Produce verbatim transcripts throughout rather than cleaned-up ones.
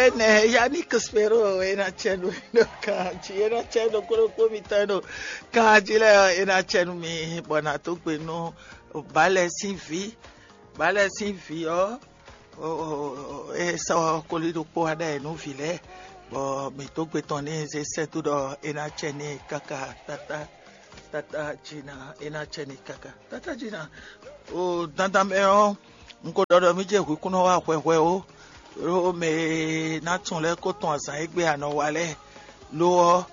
Ene, Yannick Spero, e ná cɛ nú mi ɖo kan jí, e ná cɛ nú kúɖokpó mitɔn e ɖo kan jí lɛ́ɛ ɔ́, e ná cɛ nú mi bɔ nǎ dó gbe nú Balɛ sín vǐ. Balɛ sín vǐ ɔ́, e sɔ́ koli ɖokpó wá ɖɛ nú vǐ lɛ́ɛ, bɔ mǐ dó gbe tɔn n'i zé sɛ́ dó ɖɔ é ná cɛ n'i káká. Tata tata Jina, é ná cɛ n'i káká. Tata Jina, o dandan mɛ ɔ́, un ko ɖɔ ɖɔ mí jɛ hwǐkúnɔ wá hwɛhwɛ ó, ɖó mɛ e ná tun lɛ́ɛ ko tɔn azǎn e gbe a nɔ wa lɛ́ɛ. Lo ɔ́,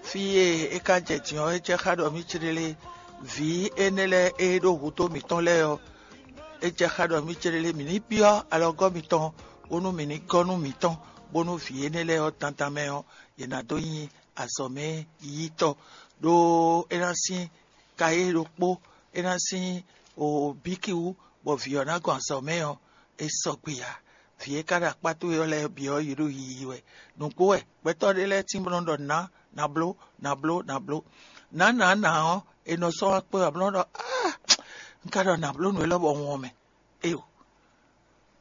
fí e é ka jɛ din ɔ́, é jɛ xá ɖɔ mí céɖélé vǐ énɛ́ lɛ́ɛ e ɖó hudó mǐtɔn lɛ́ɛ ɔ́, é jɛ xá ɖɔ mí céɖélé mǐ ní byɔ́ alɔgɔ́ mitɔn, bónú mǐ ní gɔ́ nú mǐtɔn, bónú vǐ énɛ́ lɛ́ɛ ɔ́ dandan mɛ ɔ́, yě ná dó nyi azɔ̌mɛ yítɔ́, ɖó é ná sín kayé ɖokpó, é ná sín bíkí wú, bɔ vǐ ɔ́ ná gɔn azɔ̌mɛ ɔ́, é sɔgbe ǎ. Vǐ e ka ɖo akpá towe ɔ́ lɛ́ɛ bǐ ɔ́, yě ɖo yiyi wɛ. Nǔgbó wɛ gbɛtɔ́ ɖé lɛ́ɛ tín bó nɔ́ ɖɔ nǎ, nǎ bló, nǎ bló, nǎ bló. Nǎ nǎ nǎ ɔ́, è nɔ sɔ́ wá kpé wá bó nɔ́ ɖɔ áa, un ka ɖɔ nǎ bló nǔ élɔ́ bɔ un wɔn mɛ. Éyo,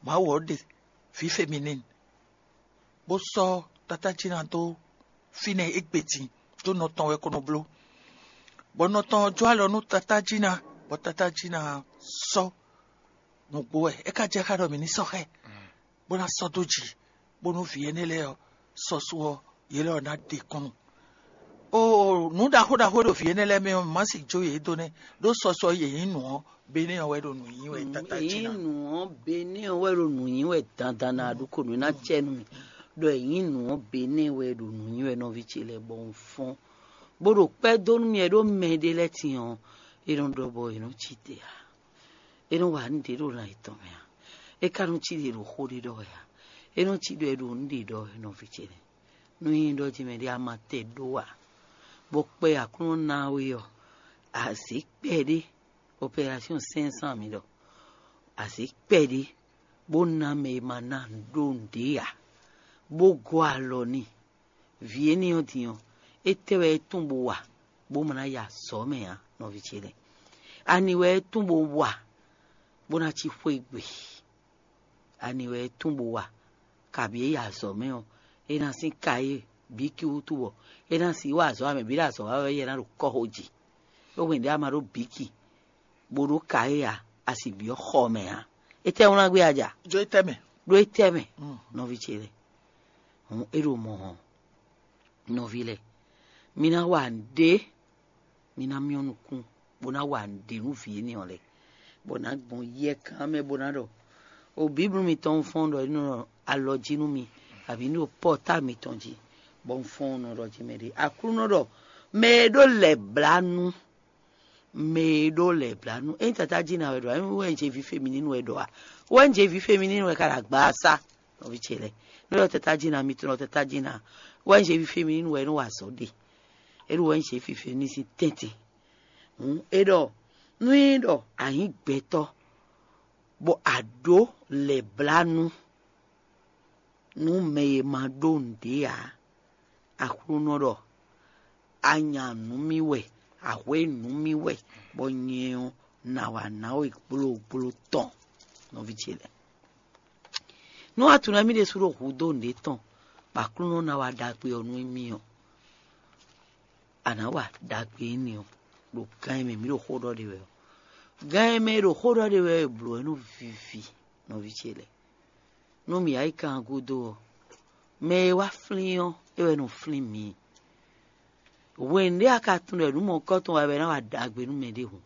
Mawu ɔ́ ɖe vǐ feminine, bó sɔ́ tatájína dó fínɛ́ égbé din, ɖó nɔ tɔn wɛ ko nɔ bló. Bɔ nɔ tɔn ɔ́ jó alɔ nú tatájína, bɔ tatájína sɔ́ nǔgbó wɛ. É ka jɛ xá ɖɔ mǐ ní sɔ́ xá ɛ, bó ná sɔ́ dó jǐ, bónú vǐ énɛ́ lɛ́ɛ ɔ́, sɔ́sú ɔ́, yě lɛ́ ɔ́ ná ɖe kɔn nú. Oo, nǔ ɖaxó ɖaxó e ɖo vǐ énɛ́ lɛ́ɛ mɛ ɔ́, mǐ má sixú jó yě dó nɛ́, ɖó sɔsɔ e yě nyí nǔ ɔ́, Benɛ́ ɔ́ wɛ ɖo nǔ nyi wɛ. Tata Nyí Jina. Nǔ ɔ́, Benɛ́ ɔ́ wɛ ɖo nǔ nyi wɛ dandan ná ɖu ko nǔ ná cɛ nú mì. Ɖɔ è nyí nǔ ɔ́, Benɛ́ wɛ ɖo nǔ nyi wɛ nɔví ce lɛ́ɛ bɔ un fɔ́n, bó ɖo kpɛ́ dó nú mì wɛ ɖó mɛ ɖé lɛ́ɛ tin ɔ́, é nɔ ɖɔ bɔ è nɔ cí te ǎ. É nɔ wa nǔ ɖě ɖo lan yětɔn mɛ ǎ. É ka nɔ cí ɖě ɖo xó ɖé ɖɔ wɛ ǎ. É nɔ cí ɖɔ é ɖo nǔ ɖě ɖɔ wɛ nɔví ce lɛ́ɛ. Nú nyí ɖɔ jí mɛ ɖé a ma tɛ ɖó ǎ, bɔ kpɛ Aklúnɔ ná we ɔ́, a zě kpɛɖé, opération cinq cent mǐ ɖɔ, a zě kpɛɖé, bó ná mɛ e ma ná ɖó nǔɖé ǎ, bó gɔ́ alɔ n'i. Vǐ énɛ́ ɔ́ din ɔ́, étɛ́ wɛ é tún bó wa, bó ma ná ya azɔ̌ mɛ ǎ, nɔví ce lɛ́ɛ? Ani wɛ é tún bó wa, bó ná cí xwé gbe? Ani wɛ é tún bó wa, kabǐ é yi azɔ̌ mɛ ɔ́, é ná sín ka e bǐ ki wútu bɔ é ná sixú wa azɔ̌ ǎ, mɛ bǐ ɖo azɔ̌ wa wɛ é yɛ ná ɖo kɔ́xo jí. É hwɛ̌n ɖé a ma ɖó bǐ ki, bó ɖó ka e ǎ, a sixú byɔ́ xɔ mɛ ǎ. Étɛ́ wlán gbé a ja? Jó étɛ́ mɛ? Ɖó étɛ́ mɛ, nɔví ce lɛ́ɛ? Hǔn é ɖo mɔ̌ hɔn, nɔví lɛ́ɛ, mi ná wa nǔɖé, mi ná myɔ́ nukún, bó ná wa nǔɖé nú vǐ énɛ́ ɔ́ lɛ́ɛ, bɔ nǎ gbɔn yɛkan mɛ bó ná ɖɔ: O Bíblu mitɔn fɔ́n ɖɔ é nɔ alɔ jí nú mi, abǐ ní ɖo pɔ́ta mitɔn jí, bɔ un fɔ́n nɔ ɖɔ jí mɛ ɖé. Aklúnɔ ɖɔ: Mɛ e ɖó lɛ̌blánú, mɛ e ɖó lɛ̌blánú. Ényí tatá jí ná wɛ ɖɔ, ényí wɛ un jɛ vǐ femininu wɛ ɖɔ a? Wɛ un jɛ vǐ femininu wɛ ka ɖo agbaasa, nɔví ce lɛ́ɛ. Nú ɖɔ tatá jí ná, mi tunɔ tatá jí ná, wɛ un jɛ vǐ femininu wɛ é nɔ wa azɔ̌ ɖe. É ɖo wɛ un jɛ vǐ femininu sín tɛ́ntin. Hǔn é ɖɔ: Nú nyí ɖɔ a nyǐ gbɛtɔ́, bɔ a ɖǒ lɛ̌blánú nú mɛ e ma ɖó nǔɖé ǎ, Aklúnɔ ɖɔ: A nya nǔ mì wɛ, a hwě nǔ mì wɛ, bɔ nyɛ ɔ́, nǎ wá ná we gblógbló tɔn, nɔví ce lɛ́ɛ. Nú a tunwun mì ɖésú ɖo hudó nǔɖé tɔn, bɔ Aklúnɔ ná wa ɖagbe ɔ́ nú mì ɔ́, a nǎ wa ɖagbe énɛ́ ɔ́, ɖo gan e mɛ mǐ ɖo xó ɖɔ ɖe wɛ ɔ́. Gan e mɛ e ɖo xó ɖɔ ɖe wɛ ɔ́, è blǒ ɛ nú vivi, nɔví ce lɛ́ɛ. Nú mǐ yá yi kan gúdo ɔ́, mɛ e wá flín ɔ́, é wɛ nɔ flín mǐ. Hwenu ɖé a ka tunwun ɖɔ nǔ mɔ̌hunkɔtɔn wɛ wɛ ná wa ɖagbe nú mɛɖé hǔn,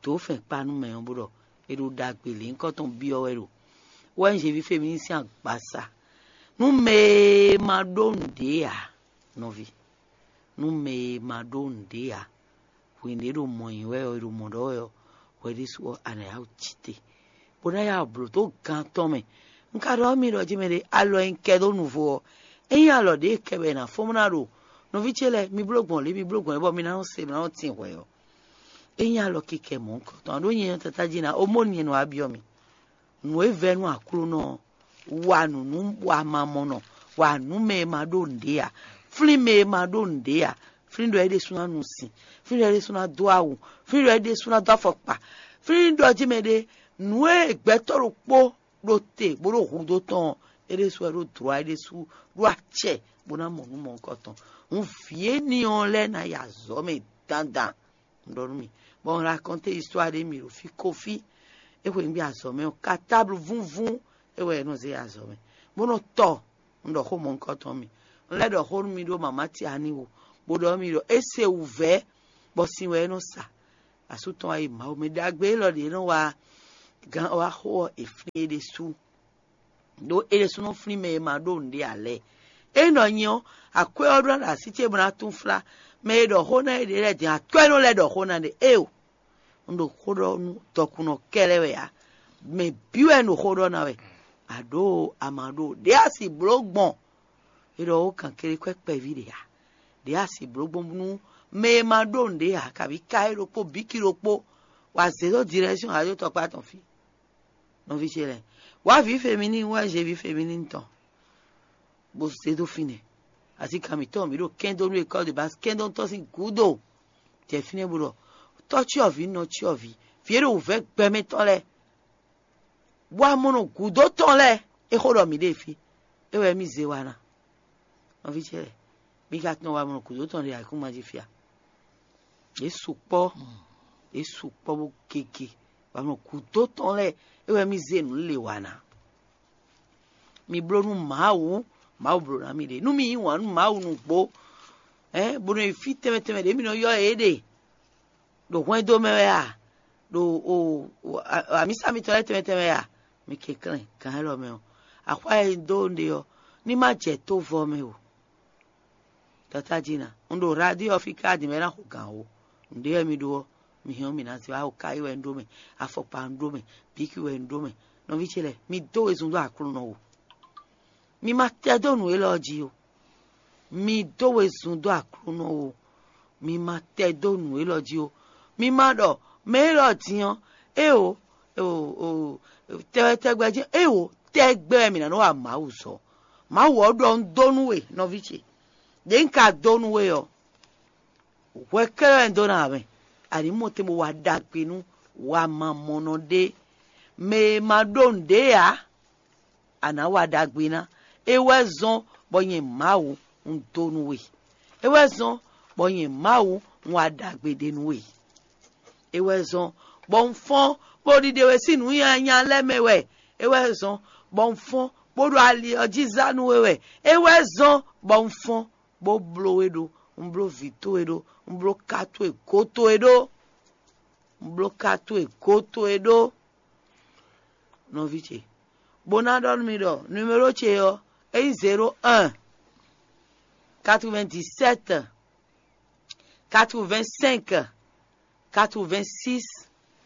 dǒ fɛn kpa nú mɛ ɔ́, bó ɖɔ è ɖo ɖagbe lěhunkɔtɔn byɔ́ wɛ ɖo wɛ nyí Zevífemi sín agbaza. Nú mɛ e ma ɖó nǔɖé ǎ, nɔví, nú mɛ e ma ɖó nǔɖé ǎ, hwenu e ɖo mɔ̌ nyi wɛ ɔ́, è ɖo mɔ̌ ɖɔ wɛ ɔ́, hwɛ ɖésú ɔ́, a nǎ yá wǔ cí te, bó ná yá wǔ blǒ dó gan tɔn mɛ. Un ka ɖɔ nú mi ɖɔ jí mɛɖé alɔ e un kɛ dó nuvo ɔ́, ényí alɔ ɖě kɛ wɛ è nǎ fɔ́n bó ná ɖo nɔví ce lɛ́ɛ, mi bló gbɔn lě, mi bló gbɔn lě, bɔ mi ná nɔ se, mi ná nɔ tin hwɛ̌ ɔ́, ényí alɔ kikɛ mɔ̌hunkɔtɔn ɔ́, ɖó nyɛ nyɔ́ tatá jí ná, omónu nyɛ nɔ wá byɔ́ mi. Nǔ e vɛ́ nú Aklúnɔ ɔ́, wa nǔ nú wa ma mɔ nɔ, wa nǔ mɛ e ma ɖó nǔɖé ǎ, flín mɛ e ma ɖó nǔɖé ǎ, flín ɖɔ é ɖésú ná nu sin, flín ɖɔ é ɖésú ná dó awu, flín ɖɔ é ɖésú ná dó afɔkpa, flín ɖɔ jí mɛ ɖé nǔ e gbɛtɔ́ ɖokpó ɖo te bó ɖo hudó tɔn ɔ́, É ɖésú wɛ ɖó dlɔ̌ é ɖésú ɖó acɛ bó ná mɔ nǔ mɔ̌hunkɔtɔn. Hǔn vǐ énɛ́ ɔ́ lɛ́ɛ ná yi azɔ̌ mɛ dandan. Un ɖɔ nú mi, bɔ un rakɔnté istwá ɖé mi ɖo fí kófí. É xweyǐgbe azɔ̌ mɛ ɔ́, katáblu vúnvún é wɛ é nɔ zé azɔ̌ mɛ, bó nɔ tɔ. Un ɖɔ xó mɔ̌hunkɔtɔn mi. Un lɛ́ ɖɔ xó nú mi ɖó mama Tiani wú, bó ɖɔ mi ɖɔ é se wǔvɛ́, bɔ sin wɛ é nɔ sa. Asú tɔn wá yi Mawu mɛ ɖagbe élɔ́ ɖě nɔ wá gán wá xó ɔ́, è flín é ɖésú. Ɖó é ɖésúnɔ flín mɛ e ma ɖó nǔɖé ǎ lɛ́ɛ. É nɔ nyi ɔ́, akwɛ́ ɔ́ ɖó ná ɖo así ce bó ná túnflá. Mɛ e ɖɔ xó ná é ɖě lɛ́ɛ din akwɛ́ nɔ lɛ́ ɖɔ xó ná ɖe éeǒ. Un ɖo xó ɖɔ nú dɔkunnɔ kɛ́lɛ́ wɛ ǎ. Mɛ bǐ wɛ un ɖo xó ɖɔ ná wɛ. Aɖǒ a ma ɖó ɖě a si bló gbɔn. É ɖɔ ó kan kele kwɛ́ kpɛví ɖě ǎ. Ɖě a si bló gbɔn nú mɛ e ma ɖó nǔɖé ǎ, kabǐ ka é ɖokpó bǐ ki ɖokpó. Wa zě dó dirɛ́syɔn ǎ dó tɔkpá tɔn fí. Nɔví ce lɛ́ɛ, wǎ vǐ femini wɛ zé vǐ femini tɔn, bó zé dó fínɛ́. Asi kan mǐtɔn mǐ ɖo kɛ́ndó nú école de base kɛ́ndó tɔn sín gǔdo. Jɛ fínɛ́ bó ɖɔ tɔ́ cyɔ́vǐ nɔ cyɔ́vǐ, vǐ e ɖo wǔvɛ́ gbɛmɛ tɔn lɛ́ɛ, bó wá mɔ nɔ gǔdo tɔn lɛ́ɛ. É xó ɖɔ mǐ ɖe fí. É wɛ mì zé wa ná. Nɔví ce lɛ́ɛ, mi ka tunɔ wa mɔ nɔ gǔdo tɔn ɖe ayǐkúngban jí fia. Yě sukpɔ́, yě sukpɔ́ bó gege, bɔ nɔ gǔdo tɔn lɛ́ɛ é wɛ mì zé nǔ lě wa ná. Mi bló nú Mawu, Mawu bló ná mi ɖe. Nú mi yí wǎn nú Mawu nǔgbó, ɛ bó nɔ yi fí tɛnmɛ tɛnmɛ ɖě mi nɔ ylɔ́ yě ɖe, ɖo hwɛndo mɛ wɛ a, ɖo amisa mitɔn lɛ́ɛ tɛnmɛ tɛnmɛ wɛ a, mi kɛnklɛ́n gǎn élɔ́ mɛ ɔ́, axwá e un dó un ɖe ɔ́, ní má jɛ tó vɔ mɛ o. Tata jí ná, un ɖo radio ɔ́ fí káa din mɛ ná xo gǎn o. Nǔɖé wɛ mi ɖó ɔ́, mi hɛn ɔ́ mi ná zé wá o. Káyí wɛ un ɖó mɛ, afɔkpa un ɖó mɛ, bíkí wɛ un ɖó mɛ. Nɔví ce lɛ́ɛ, mi dó wezun dó Aklúnɔ o. Mi ma tɛ dó nǔ élɔ́ jí o. Mi dó wezun dó Aklúnɔ o. Mi ma tɛ dó nǔ élɔ́ jí o. Mi ma ɖɔ mɛ élɔ́ din ɔ́, éeǒ, tɛwɛtɛgbɛ jí éeǒ, tɛgbɛ wɛ mǐ ná nɔ wa Mawu zɔ. Mawu ɔ́ ɖɔ un dó nú we, nɔví ce. Ɖě un ka dó nú we ɔ́, hwɛ kɛ́ɖɛ́ wɛ un dó ná ǎ mɛ. Ani mɔ te bó wa ɖagbe nú wamamɔnɔ ɖé, mɛ e ma ɖó nǔɖé ǎ, a nǎ wa ɖagbe ná. É wɛ zɔ́n bɔ nyɛ Mawu un dó nú we. É wɛ zɔ́n bɔ nyɛ Mawu un wa ɖagbe ɖé nú we. É wɛ zɔ́n bɔ un fɔ́n bó ɖiɖe we sín nǔ nyanya lɛ́ɛ mɛ wɛ. É wɛ zɔ́n bɔ un fɔ́n bó ɖo ali ɔ́ jí zá nú we wɛ. É wɛ zɔ́n bɔ un fɔ́n bó bló we ɖó. Un bló vǐ towe ɖó. Un bló ka towe gǒ towe ɖó. Un bló ka towe gǒ towe ɖó. Nɔví ce, bó ná ɖɔ nú mi ɖɔ numéro ce ɔ́, é nyí zéro un, quatre-vingt-dix-sept, quatre-vingt-cinq, quatre-vingt-six,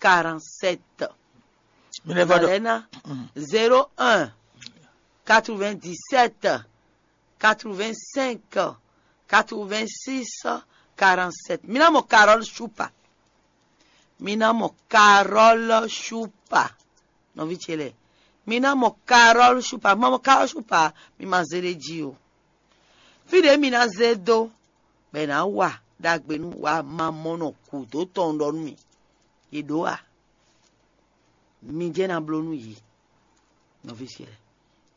quarante-sept. Mi lɛ́ vɔ ɖɔ Valena, zéro un, quatre-vingt-dix-sept, quatre-vingt-cinq, quatre-vingt-six, quarante-sept. Mi ná mɔ Carole Shupa. Mi ná mɔ Carole Shupa. Nɔví ce lɛ́ɛ, mi ná mɔ Carole Shupa. Ma mɔ Carole Shupa, mi ma zé ɖ'é jí o. Fí ɖě mi ná zé dó, bɔ è nǎ wa ɖagbe nú wa ma mɔ nɔ kú dó tɔn ɖɔ nú mi. È ɖǒ a? Mi jɛ́n ná bló nú yě. Nɔví ce lɛ́ɛ,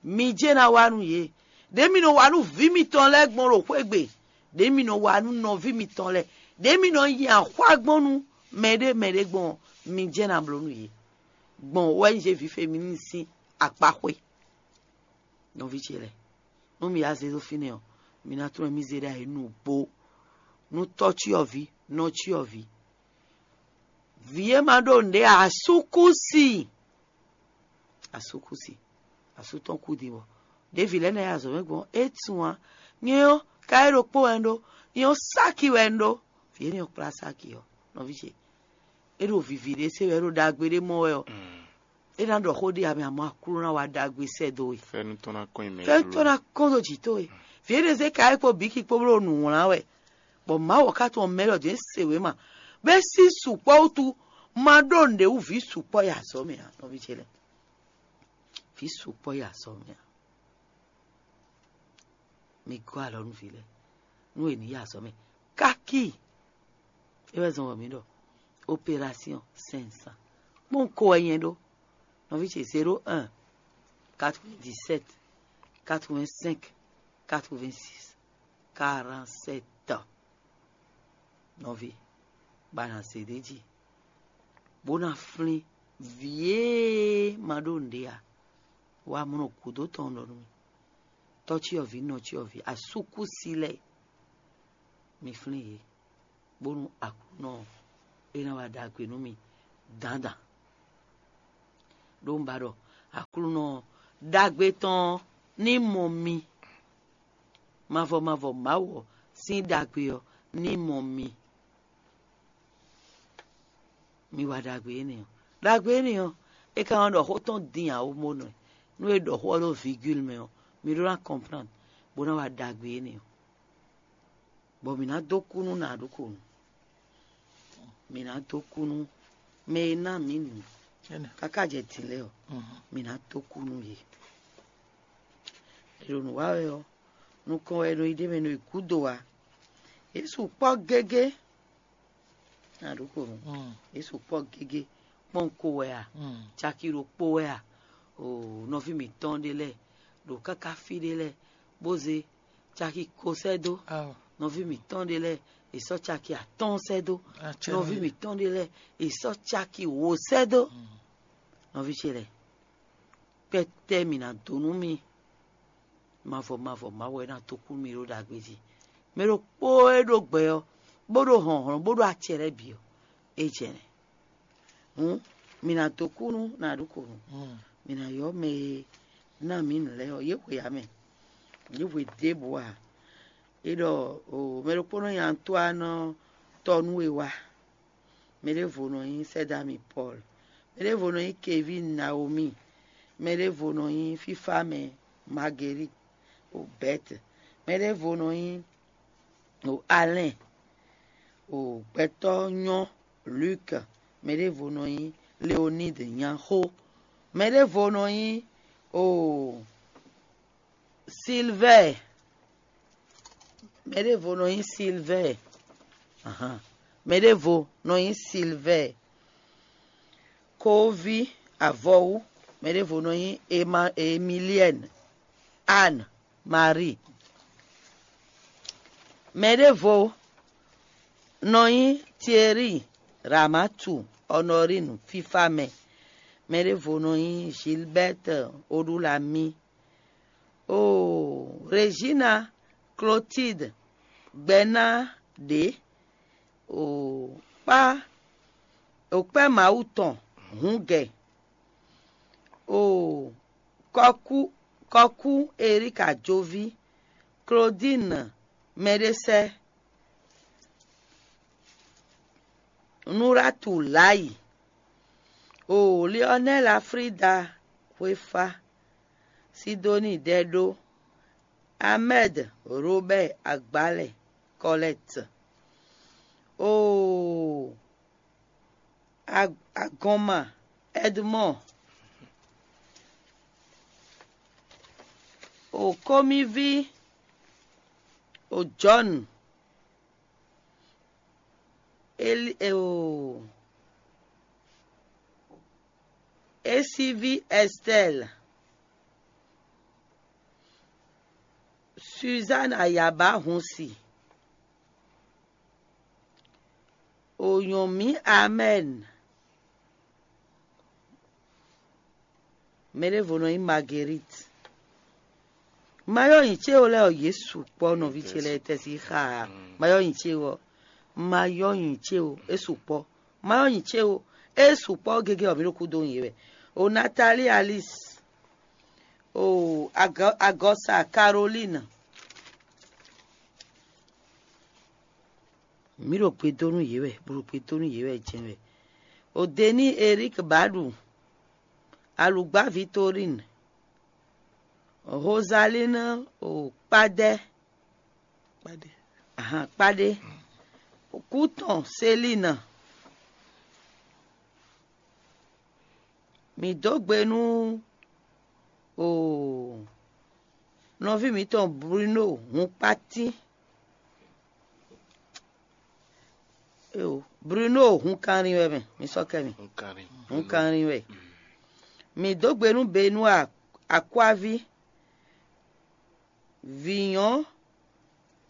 mi jɛ́n ná wa nú yě. Ɖě mi nɔ wa nú vǐ mitɔn lɛ́ɛ gbɔn ɖo xwé gbe, ɖě mi nɔ wa nú nɔví mitɔn lɛ́ɛ, ɖě mi nɔ nyi axwá gbɔn nú mɛɖé mɛɖé gbɔn ɔ́, mi jɛ́n ná bló nú yě. Gbɔn wɛ nyí Zévi Femini sín akpaxwé. Nɔví ce lɛ́ɛ, nú mi yá zé dó fínɛ́ ɔ́, mi ná tunwun mì zé ɖ'ayǐ nǔgbó. Nú tɔ́ cyɔ́vǐ, nɔ cyɔ́vǐ, vǐ e ma ɖó nǔɖé ǎ, asúkúsi. Asúkúsi, asú tɔn kú din bɔ ɖěvi lɛ́ɛ ná yi azɔ̌ mɛ gbɔn é tunwun ǎ. Nyɛ ɔ́, ka é ɖokpó wɛ un ɖó. Nyɛ ɔ́, sáki wɛ un ɖó. Vǐ énɛ́ ɔ́ kplá sáki ɔ́, nɔví ce, é ɖo vǐví ɖé se wɛ, é ɖo ɖagbe ɖé mɔ wɛ ɔ́, é ná ɖɔ xó ɖé amɛ, amɔ Aklúnɔ ná wa ɖagbe sɛ́ dó we. Fɛ́nú tɔn ná kɔn nyi mɛ. Fɛ́nú tɔn ná kɔn dó jǐ towe. Vǐ énɛ́ zé ka é kpó bǐ ki kpó bló nǔ wlán wɛ, bɔ Mawu ɔ́ ka tunwun mɛ lɔ jɛ̌n se wě ma, bɔ é sín sukpɔ́ wútu, ma ɖó nǔɖé wú vǐ sukpɔ́ yi azɔ̌ mɛ ǎ, nɔví ce lɛ́ɛ. Vǐ sukpɔ́ yi azɔ̌ mɛ ǎ. Mi gɔ́ alɔ nú vǐ lɛ́ɛ nú è nǐ yi azɔ̌ mɛ kákí. É wɛ zɔn wɔ mǐ ɖɔ opération cinq cents. Kpɔ́n ko wɛ nyɛ ɖó, nɔví ce, zéro un, quatre-vingt-dix-sept, quatre-vingt-cinq, quatre-vingt-six, quarante-sept. Nɔví, ba ná se ɖ'é jí, bó ná flín vǐ e ma ɖó nǔɖé ǎ. Wamlɔ gǔdo tɔn ɖɔ nú mì, tɔ́cyɔvǐ, nɔcyɔvǐ, asúkúsi lɛ́ɛ, mi flín yě, bónú Aklúnɔ ɔ́, é ná wa ɖagbe nú mi dandan. Ɖó un ba ɖɔ Aklúnɔ ɔ́, ɖagbe tɔn ɔ́ ní mɔ mi. Mavɔ mavɔ Mawu ɔ́ sín ɖagbe ɔ́ ní mɔ mi. Mi wa ɖagbe énɛ́ ɔ́. Ɖagbe énɛ́ ɔ́, é ka nɔ ɖɔ xó tɔn din ǎ ó, mɔ nɔ ɛ. Nú è ɖɔ xó ɔ́ ɖó vigúlu mɛ ɔ́, mi ɖó ná kɔnplán bó ná wa ɖagbe énɛ́ ɔ́. Bɔ mǐ ná dó kú nú nǎ ɖokpónɔ. Mǐ ná dó kú nú mɛ e ná mǐ nǔ káká jɛ din lɛ́ɛ ɔ́, mǐ ná dó kú nú yě. È ɖo nǔ wa wɛ ɔ́, nukɔn wɛ è nɔ yi ɖ'é mɛ, è nɔ yi gúdo ǎ. Yě sukpɔ́ gégé. Nǎ ɖokpónɔ. Yě sukpɔ́ gégé. Kpɔ́nko wɛ a? Caki ɖokpó wɛ a? Oo, nɔví mǐtɔn ɖé lɛ́ɛ ɖo káká fí ɖé lɛ́ɛ, bó zé caki ko sɛ́ dó. Nɔví mǐtɔn ɖé lɛ́ɛ, è sɔ́ caki atɔ́ɔ́n sɛ́ dó. Nɔví mǐtɔn ɖé lɛ́ɛ, è sɔ́ caki wǒ sɛ́ dó. Nɔví ce lɛ́ɛ, kpɛtɛ mǐ ná dó nú mi. Mavɔ mavɔ Mawu wɛ ná tó kú mi ɖó ɖagbe jí. Mɛ ɖokpó e ɖó gbɛ ɔ́, bó ɖó hlɔ̌nhlɔ́n, bó ɖó acɛ lɛ́ɛ bǐ ɔ́, é jɛ nɛ́. Hǔn, mǐ ná dó kú nú nǎ ɖokpónɔ. Mǐ ná ylɔ́ mɛ e ná mǐ nǔ lɛ́ɛ ɔ́, yě hwe ǎ mɛ. Yě hwe ɖěbǔ ǎ. É ɖɔ mɛ ɖokpónɔ nyi Antoine tɔ́ nú we wá. Mɛ ɖěvo nɔ nyí Sɛ́dámi Pɔ́l. Mɛ ɖěvo nɔ nyí Kevín Naomi. Mɛ ɖěvo nɔ nyí Fífámɛ Magelík o Bɛ́t. Mɛ ɖěvo nɔ nyí o Alɛ́n o gbɛtɔ́ nyɔ́ Luk. Mɛ ɖěvo nɔ nyí Leoníd Nyaxó. Mɛ ɖěvo nɔ nyí o Silvɛ́ɛ. Mɛ ɖěvo nɔ nyí Silvɛ́ɛ. Ahan. Mɛ ɖěvo nɔ nyí Silvɛ́ɛ. Koví avɔwú. Mɛ ɖěvo nɔ nyí Ema, Emiliɛ́n, Anne Marie. Mɛ ɖěvo nɔ nyí Thierry Ramatu Honorine fífá mɛ. Mɛ ɖěvo nɔ nyí Gilbert Odúlamí. Oo, Regina Clotilde gbɛ́ ná ɖě. Oo, kpá, o kpɛ́ Mawu tɔn hǔngɛ. Oo, kɔkú, kɔkú Erika Joví, Claudine Mɛɖésɛ́, Nuratu Layi, oo, Lionel Afrida Xwéfá, Sidoni Ɖɛɖó, Ahmed Robert Agbalɛ Kɔlɛt, oo, Ag- Agɔnma Edmond, oo, Kɔmiví, oo, John, Eli, oo, Esivi Estelle, Suzanne Ayaba Hunsi, Oyɔnmi Amen. Mɛ ɖěvo nɔ nyí Marguerite. Mayɔ́ nyi cé o lɛ́ɛ ɔ, yě sukpɔ́ nɔví ce lɛ́ɛ tɛ́sí xa. Mayɔ́ nyi cé o, mayɔ́ nyi cé o, é sukpɔ́. Mayɔ́ nyi cé o, é sukpɔ́ gégé ɔ, mǐ ɖo kúdó nyi yě wɛ. O Nathalie Alice, o Agɔ- Agɔsa Caroline. Mǐ ɖo gbe dó nú yě wɛ, bó ɖo gbe dó nú yě wɛ jɛ́n wɛ. O Denis Eric Baɖu, Alugba Victorine, Rosaline, o Kpadɛ, Kpadɛ. Ahan, Kpadɛ, Kútɔn Céline. Mǐ dó gbe nú, oo, nɔví mǐtɔn Bruno Hunkpatín. Eo, Bruno Hunkanrin wɛ mɛ, mi sɔ́ kɛ mi. Hunkanrin. Hunkanrin wɛ. Mǐ dó gbe nú Benua Akwavi, Vǐnyɔ́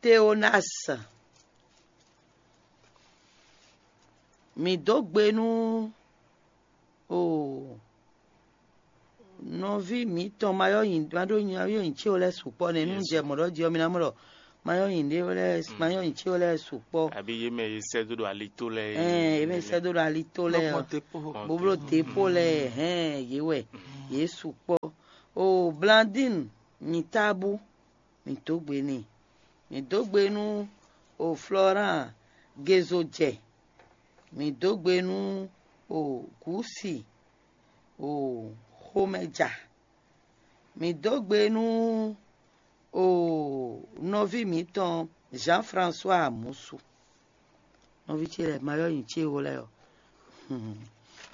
Teonasi, mǐ dó gbe nú o nɔví mǐtɔn ma yɔ́ nyi ma ɖó nyi ma yɔ́ nyi céwo lɛ́ɛ sukpɔ́ nɛ́. Nú jɛ mɔ̌ ɖɔ jí ɔ́, mi ná mɔ ɖɔ ma yɔ́ nyi ɖé lɛ́ɛ ma yɔ́ nyi céwo lɛ́ɛ sukpɔ́. Abǐ yě mɛ e sɛ́ dó ɖo alitó lɛ́ɛ. Ɛn yě mɛ sɛ́ dó ɖo alitó lɛ́ɛ ɔ́, bó bló depo lɛ́ɛ hɛn yě wɛ yě sukpɔ́. O Blandine nyi tábú, mǐ dó gbe n'i. Mǐ dó gbe nú o Florent Gezojɛ, mǐ dó gbe nú o Gǔsi, o Xomɛja, mǐ dó gbe nú o nɔví mǐtɔn Jean François Amusu. Nɔví ce lɛ́ɛ, ma yɔ́ nyi ce wo lɛ́ɛ ɔ́,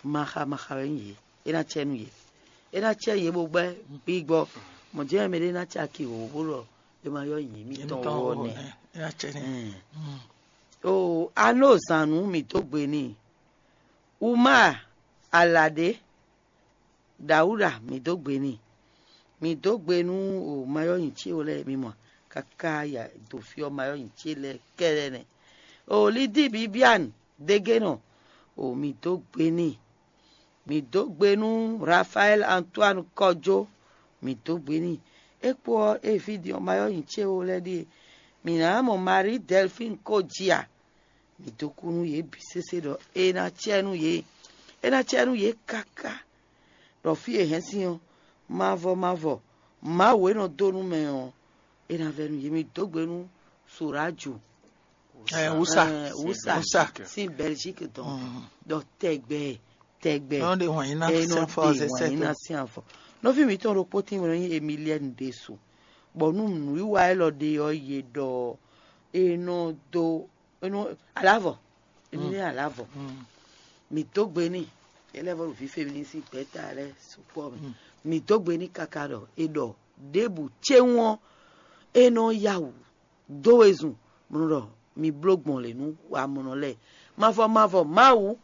maxa maxa wɛ nyí yě. É ná cɛ nú yě. É ná cɛ yě bó gbɛ́ gbígbɔ. Mɔ̌ jɛ́n mɛ ɖé ná caki wǒ bó ɖɔ é ma yɔ́ nyi mǐtɔn wɔ nɛ́. É ná cɛ n'i. Ɛn. O anó zǎn nú mǐ dó gbe n'i. Uma Alaɖé, Dawuda, mǐ dó gbe n'i. Mǐ dó gbe nú o mayɔ́ nyi ce lɛ́ɛ mi mɔ káká ya do fí ɔ́ mayɔ́ nyi ce lɛ́ɛ kɛ́ɖɛ́ nɛ́. O Lidi Bibiane dégénɔ, o mǐ dó gbe n'i. Mǐ dó gbe nú Rafaɛl Antoine Kɔjó, mǐ dó gbe n'i. É kpó ɔ́, é ví din ɔ́ mayɔ́ nyi ce lɛ́ɛ ɖíe. Mǐ ná mɔ Marie Delphine Kojia. Mǐ dó kú nú yě bǐ sésé ɖɔ é ná cɛ nú yě. É ná cɛ nú yě káká. Ɖɔ fí e hɛn sín ɔ́, mavɔ mavɔ, Mawu e nɔ dó nú mɛ ɔ́, é ná vɛ́ nú yě. Mi dó gbe nú Soraju. Ɛ, Wusa. Ɛ, Wusa. Wusa. Sín Belgique dɔn. Ɖɔ tɛgbɛ tɛgbɛ. Nɔ ɖe wǎn yín ná sín afɔ. Ɛ, nɔ ɖe wǎn yín ná sín afɔ. Nɔví mǐtɔn ɖokpó tín wɛ nɔ nyí Emilienne ɖésú. Bɔ nú nǔwiwa élɔ́ ɖe ɔ́, yě ɖɔ é nɔ dó é nɔ alavɔ. Émi ní alavɔ. Mi dó gbe n'i. Ele vɔ ɖo vǐ femini sín gbɛ̌ta lɛ́ɛ sukpɔ́ mɛ. Mi dó gbe n'i káká ɖɔ è ɖɔ ɖěbǔ céwún ɔ́, é nɔ yá wǔ dó wezun, bó nɔ ɖɔ mi bló gbɔn lě nú wamɔnɔ lɛ́ɛ. Mavɔ mavɔ Mawu,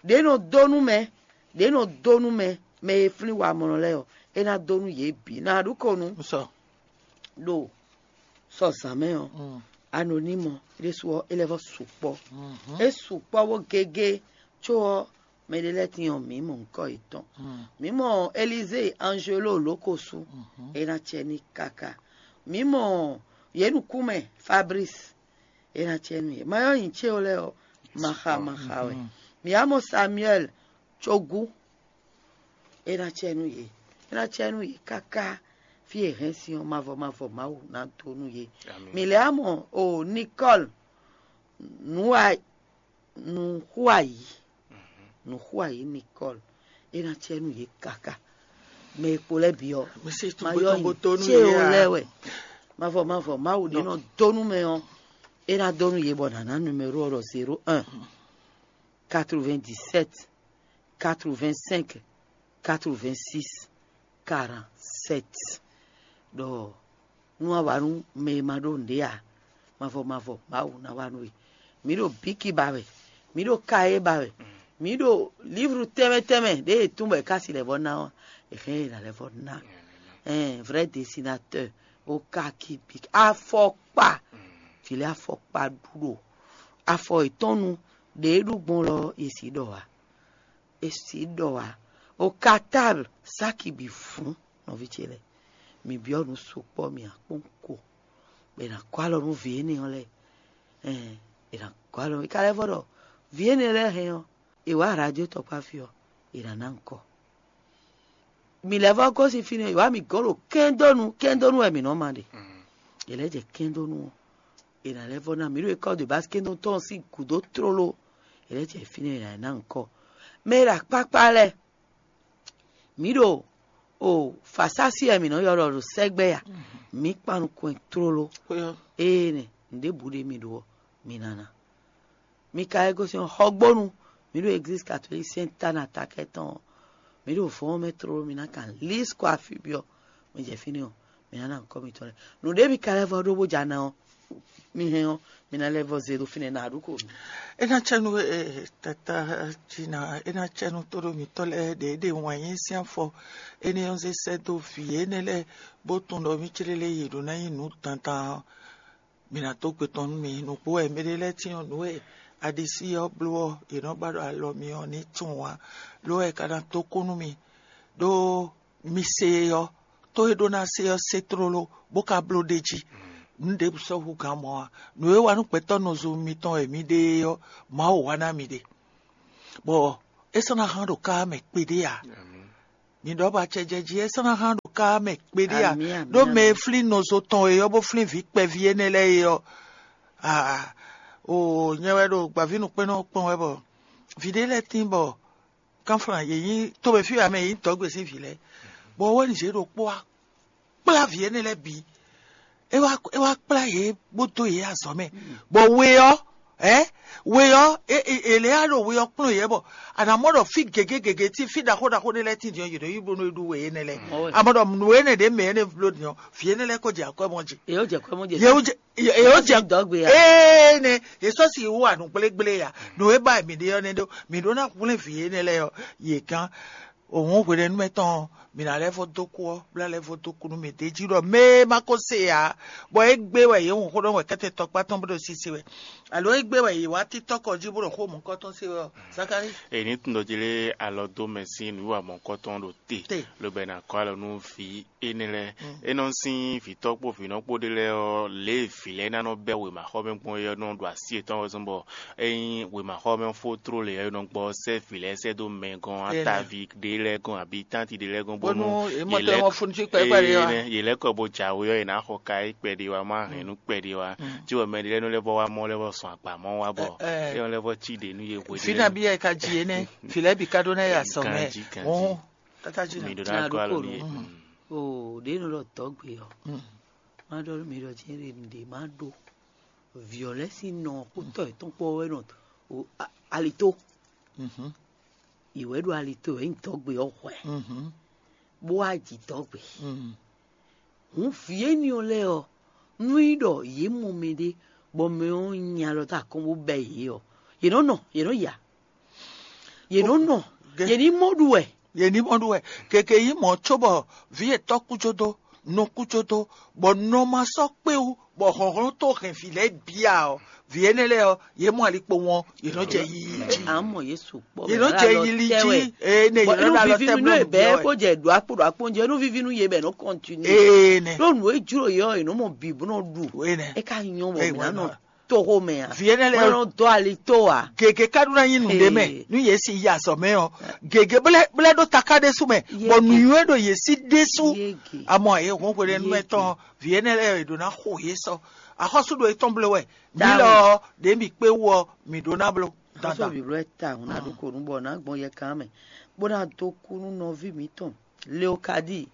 ɖě nɔ dó nú mɛ, ɖě nɔ dó nú mɛ, mɛ e flín wamɔnɔ lɛ́ɛ ɔ́, é ná dó nú yě bǐ. Ná ɖu ko nú ɖo sɔ zǎn mɛ ɔ́, anonimɔ ɖésú ɔ́, é lɛ́ vɔ sukpɔ́. É sukpɔ́ bó gégé, có ɔ́, mɛɖé lɛ́ɛ tín ɔ́, mǐ mɔ ŋkɔ yětɔn. Mǐ mɔ Elizée Anzelo Lókosú, é ná cɛ ní káká. Mǐ mɔ yě nukúnmɛ Fabrice, é ná cɛ nú yě. Mayɔ́ nyi céwo lɛ́ɛ ɔ́, maxa maxa wɛ. Mǐ wá mɔ Samuel Cogú, é ná cɛ nú yě. É ná cɛ nú yě káká fí e hɛn sin ɔ́, mavɔ mavɔ Mawu ná dó nú yě. Mǐ lɛ́ wá mɔ o Nicole Nǔwa Nǔxuayǐ, Nǔxuayǐ Nicole, é ná cɛ nú yě káká. Mɛ e kpo lɛ́ɛ bǐ ɔ́, ma yɔ nyi céwo lɛ́ɛ wɛ. Mavɔ mavɔ Mawu ɖě nɔ dó nú mɛ ɔ́, é ná dó nú yě bɔ nǎ ná numéro ɔ́ ɖɔ zéro un, quatre-vingt-dix-sept, quatre-vingt-cinq, quatre-vingt-six, quarante-sept. Ɖɔ nú a wa nú mɛ e ma ɖó nǔɖé ǎ, mavɔ mavɔ Mawu ná wa nú we. Mǐ ɖo bíki ba wɛ, mǐ ɖo kayé ba wɛ, mǐ ɖo livru tɛnmɛ tɛnmɛ ɖě e tún bɔ è ká si lɛ́ vɔ ná ɔ́, è hɛn è nǎ lɛ́ vɔ ná. Ɛn vrai dessinateur, ó ká kí bíki afɔkpa, vǐ lɛ́ɛ afɔkpa ɖu ɖo afɔ yětɔn nu ɖě e ɖu gbɔn lɔ è sǐ ɖɔ ǎ. È sǐ ɖɔ ǎ. O katábl sáki bǐ fún nɔví ce lɛ́ɛ. Mǐ byɔ́ nǔ sukpɔ́ mì akpɔ́n ko, bɔ è nǎ kɔ́ alɔ nú vǐ énɛ́ ɔ́ lɛ́ɛ. Ɛn è nǎ kɔ́ alɔ nú é ka lɛ́ vɔ ɖɔ vǐ énɛ́ lɛ́ɛ hɛn ɔ́, è wǎ radio tɔkpá fí ɔ́, è nǎ ná ŋkɔ. Mǐ lɛ́ vɔ gosín fínɛ́, è wǎ mǐ gɔ́ ɖo kɛ́ndónú, kɛ́ndónú wɛ mǐ nɔ ma ɖe. È lɛ́ jɛ kɛ́ndónú ɔ́, è nǎ lɛ́ vɔ ná mǐ ɖo école de base kɛ́ndónú tɔn sín gǔdo tlóló. È lɛ́ jɛ fínɛ́ è nǎ ná ŋkɔ. Mɛ e ɖo akpákpá lɛ́ɛ, mǐ ɖo o fasási wɛ mǐ nɔ ylɔ́ ɖɔ ɖo sɛgbɛ a, mǐ kpan nukɔn tlóló. Ée nɛ nǔɖébǔ ɖé mì ɖó ɔ́, mi ná ná. Mi ka e gosín xɔgbónu, mǐ ɖo église catholique Sainte Anne atakɛ tɔn ɔ́, mǐ ɖo vɔ̌ ɔ́ mɛ tlóló, mi ná kan lís kɔ afi byɔ́, mi jɛ fínɛ́ ɔ́, mi ná ná nukɔn mitɔn lɛ́ɛ. Nǔɖé mi ka lɛ́ vɔ ɖó bó ja ná ɔ́, Mi hɛn ɔ́, mi ná lɛ́ vɔ zé ɖo fínɛ́ ná ɖu ko. É ná cɛ nú, eh, tata Jina, é ná cɛ nú tóɖó mǐtɔn lɛ́ɛ ɖě ɖe wǎn yí sín afɔ. Énɛ́ ɔ́ zé sɛ́ dó vǐ énɛ́ lɛ́ɛ, bó tunwun ɖɔ mí clélé yě ɖó ná nyí nǔ dandan ɔ́, mǐ ná dó gbe tɔn nú mi. Nǔgbó wɛ mɛɖé lɛ́ɛ cyɔ́n nǔ e aɖisí ɔ́ bló ɔ́, yě nɔ ba ɖo alɔ mi ɔ́ ní tunwun ǎ. Lo wɛ ka ná dó kú nú mi, ɖó mi se e ɔ́, tó e ɖó ná se ɔ́ se tlóló, bó ka bló ɖ'é jí. Nǔ ɖěbǔ sɔ́ hú gǎn mɔ̌ ǎ. Nǔ e wa nú gbɛtɔ́ nɔzo mitɔn e mi ɖe é ɔ́, Mawu wa ná mi ɖe, bɔ é sɔ́ ná hán ɖo ká mɛ kpeɖé ǎ. Mi ɖɔ bɔ acɛjɛjí é sɔ́ ná hán ɖo ká mɛ kpeɖé ǎ. Amǐ, amǐ, ɖó mɛ e amǐ. Flín nɔzo tɔn e ɔ́, bó flín vǐ kpɛví énɛ́ lɛ́ɛ é ɔ́, aa, o nyɛ wɛ ɖo gbǎvínǔkpɛ́nnɔ kpɔn wɛ bɔ vǐ ɖé lɛ́ɛ tín bɔ kánflán yě nyí tómɛ fí wɛ mɛ yě nyí dɔ̌gbe sín vǐ lɛ́ɛ, bɔ wɛ́nizě ɖokpó wá kplá vǐ énɛ́ lɛ́ɛ bǐ. É wá é wá kplá yě bó dó yě azɔ̌ mɛ, bɔ we ɔ́, ɛ we ɔ́, è lě á ɖo we ɔ́ kplɔ́n yě bɔ a nǎ mɔ ɖɔ fí gěgé gěgé tí fí ɖaxó ɖaxó ɖé lɛ́ɛ tíndin ɔ́, yě ɖo yí bónú é ɖu we énɛ́ lɛ́ɛ. Amɔ ɖɔ nǔ énɛ́ ɖě mɛ énɛ́ bló din ɔ́, vǐ énɛ́ lɛ́ɛ kó jɛ akwɛ́ mɔ jí. Yě ó jɛ kwɛ́ mɔ jɛ. Yě ó jɛ yě ó jɛ dɔgbe ya. Ee ne yě sɔ́ si wú anu gblégblé ya. Nǔ e ba mǐ ɖe ɔ́ nɛ́ ɖó mǐ ɖó ná hwlɛ́n vǐ énɛ́ lɛ́ɛ ɔ́, yě gán. Òun hwenɛ́nu mɛ tɔn ɔ́, mǐ ná lɛ́ vɔ dó kú ɔ́, bó ná lɛ́ vɔ dó kú nú mǐ d'é jí ɖɔ mɛ e ma ko se ǎ, bɔ é gbé wɛ yě hun xó ɖɔ wɛ kɛ́tɛ tɔkpá tɔn bó ɖo sisi wɛ, alo é gbé wɛ yě wá títɔ́ kɔ jí bó ɖo xó mɔ̌kɔ́ tɔn se wɛ ɔ́, Zakalíi. Èyí ní tun ɖɔ jí lé alɔ dó mɛ sín nǔ wa mɔ̌kɔ́tɔn ɖo te, Te. Lobo ná kɔ alɔ nú vǐ énɛ́ lɛ́ɛ. É nɔ sín vǐtɔ́ kpó vǐnɔ kpó ɖé lɛ́ɛ ɔ́, lě e vǐ lɛ́ɛ ná nɔ bɛ́ wěmaxɔmɛ gbɔn é ɔ́ nɔ ɖo así yětɔn wɛ zɔ́n bɔ ényí wěmaxɔmɛ fó tló lě ɔ́, é nɔ gbɔ sɛ́ vǐ lɛ́ɛ sɛ́ dó mɛ gɔ́n, Énɛ́. Ataví ɖé lɛ́ɛ gɔ́n, abǐ tánti ɖé lɛ́ɛ gɔ́n, bónú Bónú é mɔ yě tɔ́ lɛ́- mɔ funu cí kpɛɖé wá. Énɛ́, yě lɛ́ kɔ bó jǎwe ɔ́, yě ná xɔ ka é kpɛɖé wá, má hɛn nú kpɛɖé wá. Cí wɔ mɛ ɖé lɛ́ɛ nɔ lɛ́ vɔ wá mɔ lɛ́ vɔ sɔn agba mɔ wá bɔ Ɛ, ɛ. É nɔ lɛ́ vɔ cí ɖě nú yě hwe Fí ɖé. Nabí yɛ ka ji énɛ́, fí lɛ́ɛ bǐ ka ɖó ná yɛ azɔ̌ mɛ. Ganjí, ganjí. Òun, tata jí Mi nɔ. Ɖó ná Ná kɔ ɖó alɔ kó nú yě. Nú. O ɖě nɔ ɖɔ dɔ̌gbe ɔ́, má ɖɔ nú mi ɖɔ jɛ́n ɖe nǔɖé má ɖó. Vǐ ɔ́ lɛ́ɛ sín nɔ kpótɔ́ yětɔn kpó wɛ nɔ o a- alito. Yě wɛ ɖo alito wɛ nyí dɔ̌gbe ɔ́ hwɛ, bó wá ji dɔ̌gbe. Hǔn vǐ énɛ́ ɔ́ lɛ́ɛ ɔ́, nú nyí ɖɔ yě mɔ mɛɖé, bɔ mɛ ɔ́ nyi alɔ dó akɔ́n bó bɛ́ yě ɔ́, yě nɔ nɔ, yě nɔ ya, yě nɔ nɔ, Ge- yě ní mɔ ɖu wɛ. Yě ní mɔ ɖu wɛ. Keke yí mɔ̌ cóbɔ vǐ yětɔn kú jó dó, nɔ kú jó dó, bɔ nɔ ma sɔ́ kpé wú, bɔ hlɔ̌nhlɔ́n tó hɛn vǐ lɛ́ɛ bia ɔ́, vǐ énɛ́ lɛ́ɛ ɔ́, yě mɔ ali kpo wɔn, yě nɔ jɛ yiyi jí. À ń mọ̀ Yéṣu kpɔ́ Yě nɔ jɛ yili jí, ee, ne yě nɔ ɖo alɔ tɛ bló nǔ bɛ bia kó wɛ. Jɛ ɖo akpó ɖo akpó jɛ nú vivi nú yé bɛ nɔ kɔntinu. Ee, nɛ. Ɖó nǔ e jló yé ɔ́, yě nɔ mɔ bǐ bó nɔ ɖu. Ee, nɛ. É ka nyɔ bɔ Ee, mǐ ná wɛ nɔ nɔ. Toxo mɛ a? Vǐ énɛ́ lɛ́ɛ Mɛ nɔ dɔ ali tó a? Gěgé ka ɖó ná nyí nǔɖé mɛ. Ee. Nú yě si yi azɔ̌ mɛ ɔ́, gěgé blɛ́ blɛ́ ɖó taká ɖésú mɛ, Yé bɔ nǔnywɛ́ ɖo yě sí ɖésú. Yége. Amɔ yě hɔn hwe ɖé nú Yége. Ɛtɔn vǐ énɛ́ lɛ́ɛ è ɖǒ ná xo yě sɔ. Axɔ́sú ɖo yětɔn bló wɛ. Mǐ Táwọn. Lɔ ɔ́, ɖě mǐ kpé wú ɔ́, mǐ ɖó ná bló. Xɔ́sɔ Dandan. Bǐblɔ́ ta hǔn ná ɖó ko nú bɔ ná gbɔn yɛkan mɛ, bó ná dó kú nú nɔví mǐtɔn Leokadi,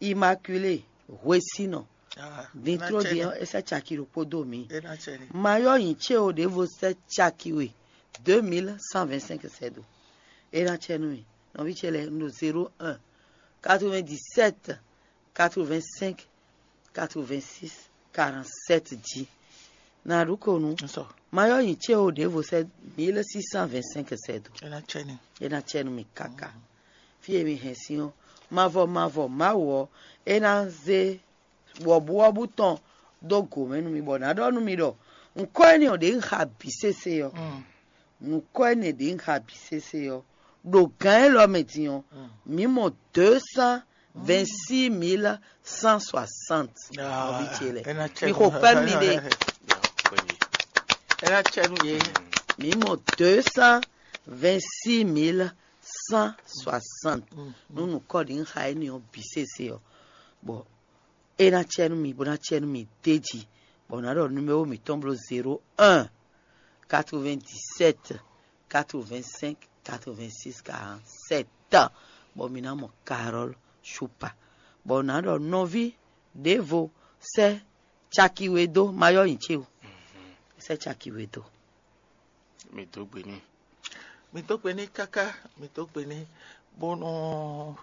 Immaculée, hwesínɔ. Ah, Din tló din ɔ́, é sɛ́ caki ɖokpó dó mǐ. É ná cɛ ní. Mayɔ́ nyi cé o ɖěvo sɛ́ caki we, deux mille cent vingt-cinq sɛ́ dó. É ná cɛ nú mì. Nɔví ce lɛ́ɛ, un ɖo zéro un, quatre-vingt-dix-sept, quatre-vingt-cinq, quatre-vingt-six, quarante-sept jí. Ná ɖu ko nú. Nsɔ. Mayɔ́ nyi cé o ɖěvo sɛ́ mille six cent vingt-cinq sɛ́ dó. É ná cɛ ní. É ná cɛ nú mì káká. Fí e mi hɛn sín ɔ́, mavɔ mavɔ Mawu ɔ́, é ná zé wɔ̌buwɔ́bú tɔn dó gǒ mɛ nú mi, bɔ nǎ ɖɔ nú mi ɖɔ nǔkɔ énɛ́ ɔ́ ɖě un xa bǐ sésé ɔ́, nǔkɔ énɛ́ ɖě un xa bǐ sésé ɔ́, ɖo gǎn élɔ́ mɛ din ɔ́, mǐ mɔ deux cent vingt-six mille cent soixante. Ah, Nɔví ce lɛ. É ná cɛ Mi nú- xo kpɛ́ mi ɖe. É ná cɛ nú yě. Mǐ mɔ deux cent vingt-six mille cent soixante. Nú nǔkɔ ɖě un xa énɛ́ ɔ́ bǐ sésé ɔ́, bɔ é ná cɛ nú mi, bó ná cɛ nú mi d'é jí, bɔ nǎ ɖɔ numéro mǐtɔn bló zéro un, quatre-vingt-dix-sept, quatre-vingt-cinq, quatre-vingt-six, quarante-sept, bɔ mi ná mɔ Carole Choupa, bɔ nǎ ɖɔ nɔví ɖěvo sɛ́ caki we dó, ma yɔ nyi ce o, sɛ́ caki we dó. Mi dó gbe n'i. Mi dó gbe n'i káká, mi dó gbe n'i, bónú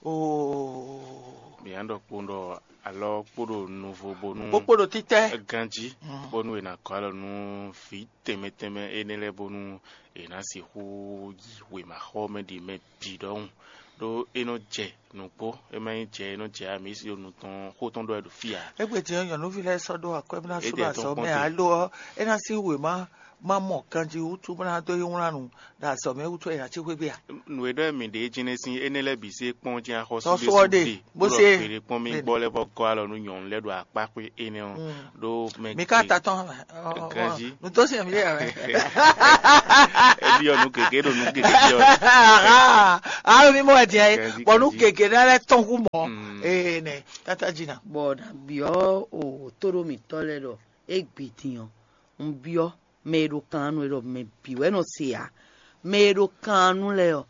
o Yǎn ɖɔ kpowun ɖɔ alɔ kpo ɖo nuvo bónú kpókpó ɖo títɛ. Ganjí, bónú è nǎ gɔ́ alɔ nú vǐ tɛnmɛ tɛnmɛ énɛ́ lɛ́ɛ bónú è nǎ sixú yi wěmaxɔmɛ ɖi mɛ bǐ ɖɔhun. Ɖó é nɔ jɛ nǔgbó, é má nyí jɛ é nɔ jɛ ǎ, mǐ si ɖo nǔ tɔn xó tɔn ɖɔ wɛ ɖo fí ǎ. Égbé din ɔ́, nyɔ̌nuví lɛ́ɛ sɔ́ ɖó akwɛ́ bó ná sú ɖo Édɛɛ tɔn azɔ̌ gbɔn mɛ te. Alo ɔ́, é ná sín wěma má mɔ ganjí wútu bó ná dó yi wlán nǔ ɖo azɔ̌ mɛ wútu wɛ è nǎ cí xwé gbe a? Nǔ e ɖɔ mǐ ɖe é jɛ́n sín énɛ́ lɛ́ɛ bǐ sí é kpɔ́n jɛ́n axɔ́sú Tɔ́ sɔ́ ɖésú ɖe, ɖe, bó bó ɖɔ se. Gbeɖé kpɔ́n mí Bẹ́ẹ̀ni. Gbɔ lɛ́ vɔ gɔ́ alɔ nú nyɔ̌nu lɛ́ɛ ɖo akpá xwé énɛ́ ɔ́. Mm. Ɖó mɛ Mi ka gbe- ta tɔn. Ganjí. Nutó sin mi ɖe yàrá. Ebi ɔ́ nú gěgé ɖo nú gěgé ɔ́. Alo mi mɔ wɛ diɛ ye. Ganjí, Bɔ nu ganjí. Gègé ɖe lɛ tɔn hu mɔ. Mm. Ee nɛ tata jina. Bɔ na biɔ o tóɖó mǐtɔn lɛ ɖɔ égbé din ɔ́, un biɔ mɛ e ɖo kan nú é ɖɔ mɛ bǐ wɛ nɔ se ǎ. Mɛ e ɖo kan nú lɛ ɔ́,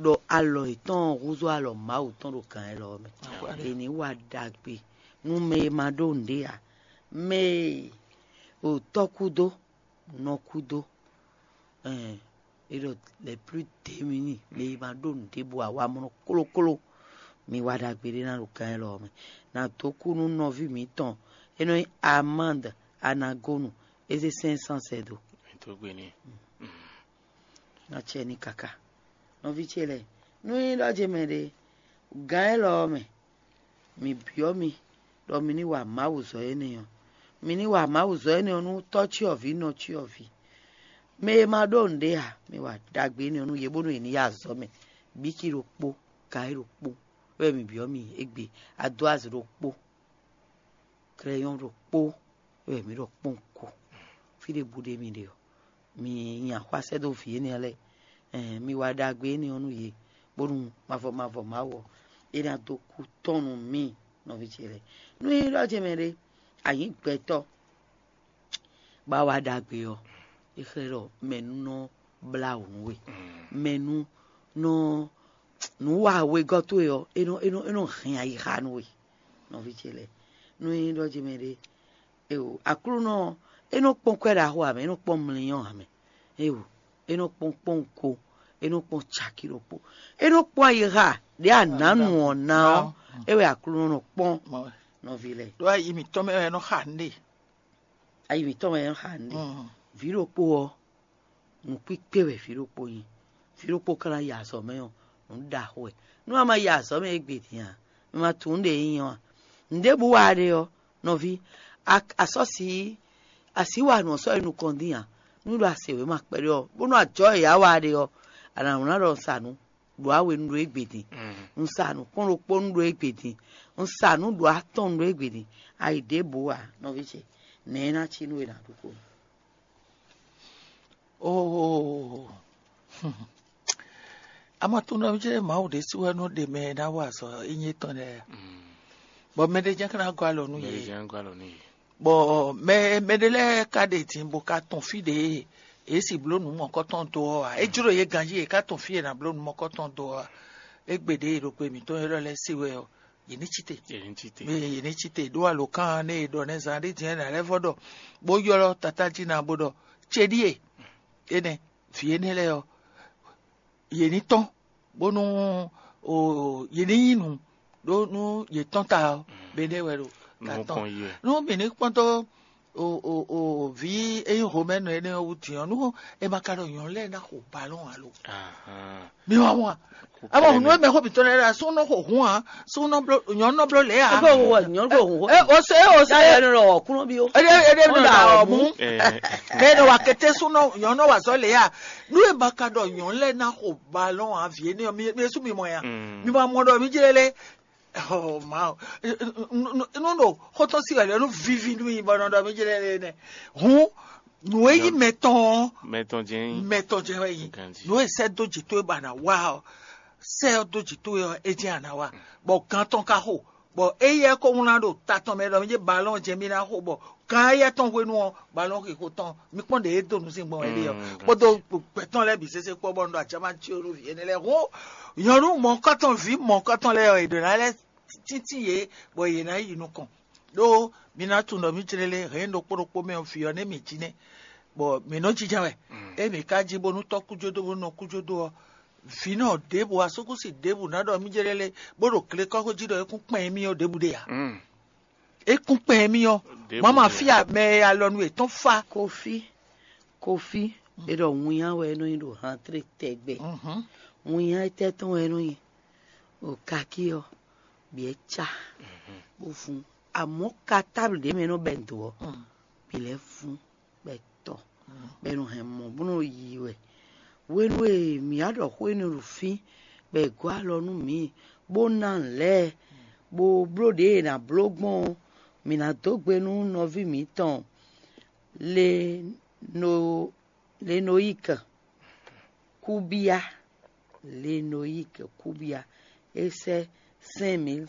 ɖɔ alɔ yětɔn ɔ́ húzú alɔ Mawu tɔn ɖo gǎn élɔ́ ɔ́ mɛ. Akpá ɖe. È ní wa ɖagbe nú mɛ e ma ɖó nǔɖé ǎ. Mɛ e o tɔ́ kúdó, nɔ kúdó, ɛn, é ɖɔ les plus démunis, mɛ e ma ɖó nǔɖé bɔ awamlɔ klókló, mi wa ɖagbe ɖé ná ɖo gǎn élɔ́ ɔ́ mɛ. Nǎ dó kú nú nɔví mǐtɔn, é nɔ nyí Amande Anagonu, é zé cinq cent sɛ dó. Tó gbe n'i. Ná cɛ ní káká. Nɔví ce lɛ́ɛ, nú nyí ɖɔ ce mɛ ɖé, gǎn élɔ́ ɔ́ mɛ, mi byɔ́ mi ɖɔ mi ní wa Mawu zɔ énɛ́ ɔ́. Mi ní wa Mawu zɔ énɛ́ ɔ́ nú tɔ́ cyɔ́vǐ nɔ cyɔ́vǐ. Mɛ e ma ɖó nǔɖé ǎ, mi wa ɖagbe énɛ́ ɔ́ nú yě bónú yě ní yi azɔ̌ mɛ. Bící ɖokpó, kayi ɖokpó, wɛ mi byɔ́ mi égbé, adoazi ɖokpó, krɛyɔn ɖokpó, wɛ mi ɖɔ kpɔ́n ko. Fí ɖěbǔ ɖé mi ɖe ɔ́, mi nyi axwá sɛ́ dó vǐ énɛ́ lɛ́ɛ, ɛn, mi wa ɖagbe énɛ́ ɔ́ nú yě, bónú mavɔ mavɔ Mawu ɔ́, é ná dó kú tɔn nú mì, nɔví ce lɛ́ɛ. Nú é ɖɔ ce mɛ ɖé, a nyǐ gbɛtɔ́, bá wa ɖagbe ɔ́, é xlɛ́ ɖɔ mɛ̌ nú nɔ blá wǔ nú we, mɛ̌ nú nɔ nǔ wa wegɔ́ towe ɔ́, é nɔ é nɔ é nɔ hɛn ayixa nú we, nɔví ce lɛ́ɛ. Nú é ɖɔ ce mɛ ɖé, Eo, Aklúnɔ ɔ́, é nɔ kpɔ́n kwɛ́ ɖaxó ǎ mɛ, é nɔ kpɔ́n mlínyɔ́ ǎ mɛ. Eo, é nɔ kpɔ́n kpɔ́nwun ko, é nɔ kpɔ́n caki ɖokpó, é nɔ kpɔ́n ayixa ɖě a nǎ nu ɔ́ ná ɔ́, é wɛ Aklúnɔ nɔ kpɔ́n nɔví lɛ́ɛ. Ɖó ayi mǐtɔn mɛ wɛ é nɔ xa nǔɖé. Ayi mǐtɔn mɛ é nɔ xa nǔɖé. Vǐ ɖokpó ɔ́, nǔkpíkpé wɛ vǐ ɖokpó nyí. Vǐ ɖokpó ka ná yi azɔ̌ mɛ ɔ́, nǔ ɖaxó wɛ. Nú a ma yi azɔ̌ mɛ égbé din ǎ, mi ma tunwun nǔɖé e nyí ɔ́ ǎ. Nǔɖébǔ wa ɖe ɔ́, nɔví, a sɔ́ si así wa nǔ ɔ́ sɔ́ yi nukɔn dín ǎ. Nú ɖo a se wěma kpɛɖé ɔ́, bónú ajɔ̌ e yǎ wa ɖe ɔ́, a nǎ wlán ɖɔ un sa nǔ ɖo awe nu ɖo égbé din. Un sa nǔ kpɔ́n ɖokpó nu ɖo égbé din. Un sa nǔ ɖo atɔn nu ɖo égbé din. A yi ɖěbǔ ǎ, nɔví ce, nɛ̌ é ná cí nú we ná ɖu xó? Oo. Amatunɔví ce Mawu ɖésú wɛ nɔ ɖe mɛ e ná wa azɔ̌ ényí tɔn lɛ́ɛ. Bɔ mɛɖé jɛ́n ka ná gɔ́ alɔ nú yě. Bɔ mɛ mɛɖé lɛ́ɛ ka ɖe din bó ka tɔn fí ɖě e yě si bló nǔ mɔ̌kɔtɔn dó ɔ́ ǎ. É jló yě ganjí yě ka tɔn fí e è nǎ bló nǔ mɔ̌kɔtɔn dó ɔ́ ǎ. Égbé ɖě e ɖo gbe mǐtɔn élɔ́ lɛ́ɛ se wɛ ɔ́, yě ní cí te. Yě ní cí te. Mɛ yě ní cí te ɖó alǒkan nɛ e ɖɔ nɛ́ zán ɖé din ɔ́, è nǎ lɛ́ vɔ ɖɔ bó ylɔ́ tatá jí ná bó ɖɔ: "Céɖíe énɛ́, vǐ énɛ́ lɛ́ɛ ɔ́, yě ní tɔ́n, bónú o yě ní nyí nǔ ɖó nú yě tɔ́n ta ɔ́, bɛ́nɛ́ wɛ ɖo ta tɔn." Nú mǐ ní kpɔ́n dó o o o vǐ e nyí Homɛ́nu énɛ́ ɔ́ wú din ɔ́, nú è ma ka ɖɔ nyɔ̌nu lɛ́ɛ ná xo balɔ́n alo. Mi wá mɔ a? Ama hǔn nú mɛ xó mǐtɔn lɛ́ɛ ɖo asú nɔ xo hun a, sú nɔ bló nyɔ̌nu nɔ bló lě a. Ebe wo nyɔ̌nu ko hun. E o se e o se. Ya yɛ nɔ ɔkúnɔ bi o. Ede ede nɔ da ɔmú. Mɛ nɔ wa kete sú nɔ nyɔ̌nu nɔ wa zɔ lě a. Nú e ma ka ɖɔ nyɔ̌nu lɛ́ɛ ná xo balɔn a vǐ énɛ́ ɔ́, mi mi sú mi mɔ ya. Mi ma mɔ ɖɔ mi jlé lé. Oh, Mawu. Nú ɖo xótɔn sí wɛ lɛ nú vivi nú mi bɔ nɔ ɖɔ mi jlé lé nɛ. Hun nǔ e yí mɛ tɔn ɔ́, mɛ tɔn jɛ́n yí. Mɛ tɔn jɛ́n wɛ yí. Nǔ e sɛ́ dó jǐ towe bɔ a nǎ wa ɔ́, sɛ́ ɔ́ dó jǐ towe ɔ́, é jɛ́n a nǎ wa. Bɔ gan tɔn ka xo, bɔ éyɛ́ ko wlán ɖo ta tɔn mɛ ɖɔ mí jɛ balɔn jɛ mí ná xo, bɔ gan éyɛ́ tɔn hwenu ɔ́, balɔn xixo tɔn, mi kpɔ́n ɖě e dó nǔ sín gbɔn wɛ ɖe ɔ́, kpódó gbɛtɔn lɛ́ɛ bǐ sésé kpɔ́ bɔ un ɖo ajama cí o nú vǐ énɛ́ lɛ́ɛ. Hǔn nyɔ̌nu mɔ̌kɔtɔn, vǐ mɔ̌kɔtɔn lɛ́ɛ ɔ́, è ɖǒ ná lɛ́ tíntín yě, bɔ yě ná yi nukɔn. Ɖó mi ná tunwun ɖɔ mí clélé hɛ̌n ɖokpó ɖokpó mɛ ɔ́, vǐ ɔ́ nɛ́ mǐ jí nɛ́, bɔ mǐ nɔ jínjɔ́n wɛ. Ée mǐ ka jí bónú tɔ́ kújódó bónú nɔ kújódó ɔ́, Vǐnɔ ɖěbǔ, asúkúsi ɖěbǔ ná ɖɔ mí jɛ lɛ́ lé, bó ɖo glekɔ́xo jí ɖɔ é kún kpɛn émí ɔ́ ɖěbǔ ɖe ǎ. É kún kpɛn émí ɔ́. Mama fí a mɛ e alɔnu yětɔn fa. Kofi, kofi, e ɖɔ winnyá wɛ é nɔ nyi ɖo hantré tɛgbɛ. Winnyá étɛ́ tɔn wɛ é nɔ nyi? O kakí ɔ́, bǐ é cá bó fún. Amɔ̌ ka táblu ɖě mɛ e nɔ bɛ́ dǒ ɔ́, bǐ lɛ́ fún bɔ é tɔ, bɔ è nɔ hɛn mɔ bó nɔ yi wɛ. Hwenu e mǐ wá ɖɔ xó énɛ́ ɖo fí, bɔ è gɔ́ alɔ nú mǐ, bó ná nǔ lɛ́ɛ, bó bló ɖě è nǎ bló gbɔn ɔ́, mǐ ná dó gbe nú nɔví mǐtɔn Lenoyika Kúbíá. Lenoyika Kúbíá, é sɛ́ cinq mille